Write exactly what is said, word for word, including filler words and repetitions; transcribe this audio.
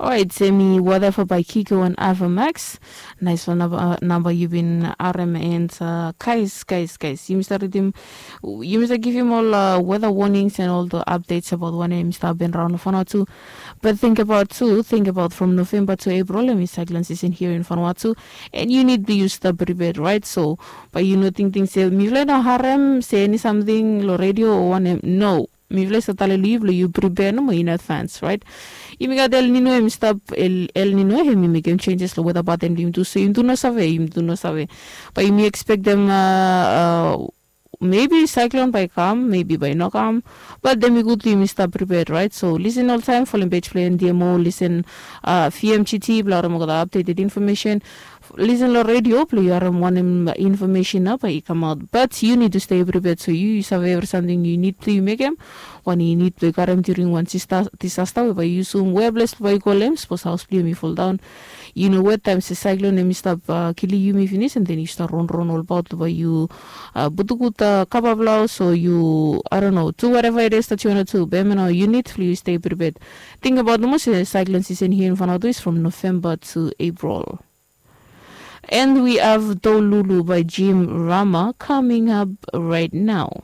Orait, semi whatever by Kiko and Ava Max. Nice one, namba, namba you been R M and uh, guys, guys, guys. You must read him. You must give him all uh, weather warnings and all the updates about when him start been around Vanuatu. But think about too, think about from November to April, him is cyclone season here in Vanuatu, and you need to use the prepared, right? So, but you know, think things say, mifle no harem, say any something, lo radio or one, no. Mifle sa tale liu blo yu prepare nomo in advance, right? Yumi gat El Nino, em stap El, El Nino, em i mekem changes lo weather pattern blo yumi tu, so yumi tu no save, yumi tu no save. But yumi expect them uh, uh, maybe cyclone by kam, maybe by no kam. But then we good yumi stap prepared, right? So listen all time, follow page play and D M O, listen uh, V M G T, bla ora mo got updated information. Listen lo radio, blo yu harem wanem information na bai i kamaot. But you need to stay prepared, so you, you save every something you need to you mekem. Wan you need to karem during one disaster, disaster we bai you sum where place bai you call them, suppose house blo you mi fall down. You know where time se cyclone em stop uh, kili you mi finish, and then you start run run all about bai you uh, butukuta kapa blau, so you, I don't know, do whatever it is that you want to do. But you know, you need to you stay prepared. Think about the most uh, cyclone season here in Vanuatu is from November to April. And we have Dolulu by Jim Rama coming up right now.